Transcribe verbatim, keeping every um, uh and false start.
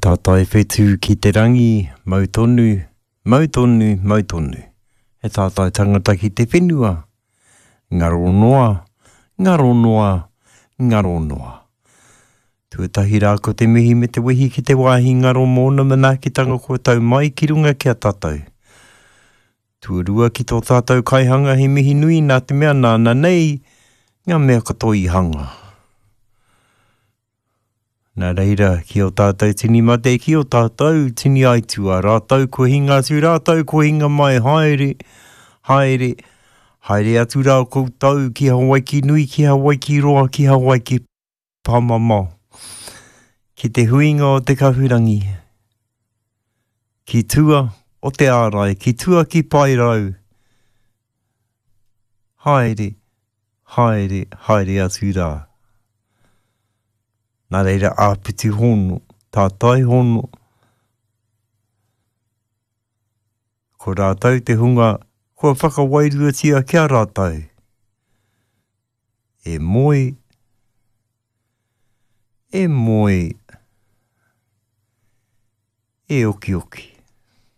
Tātai whetū ki te rangi, mau tonu, mau tonu, mau tonu. He tātai tangata ki te whenua. Ngaro noa, ngaro noa, ngaro noa. Tuatahi rā ko te mihi me te wehi ki te wāhi ngaro mōna manaakitanga kua tau mai ki runga ki a tātou. Tuarua ki tō tātou kaihanga he mihi nui nā te mea nāna nei ngā mea katoa i hanga. Nā reira, ki o tātou tini mate, ki o tātou tini aitua, rātou kua hinga atu, rātou kua hinga mai, haere, haere, haere atu rā koutou ki Hawaiki nui, ki Hawaiki roa, ki Hawaiki pāmamao, ki te huinga o te kahurangi, ki tua o te ārai, ki tua ki Paerau, haere, haere, haere atu rā. Nā reira āpiti hono, tātai hono, ko rātou te hunga kua whakawairuatia ki a rātou. E moe, e moe, e okioki.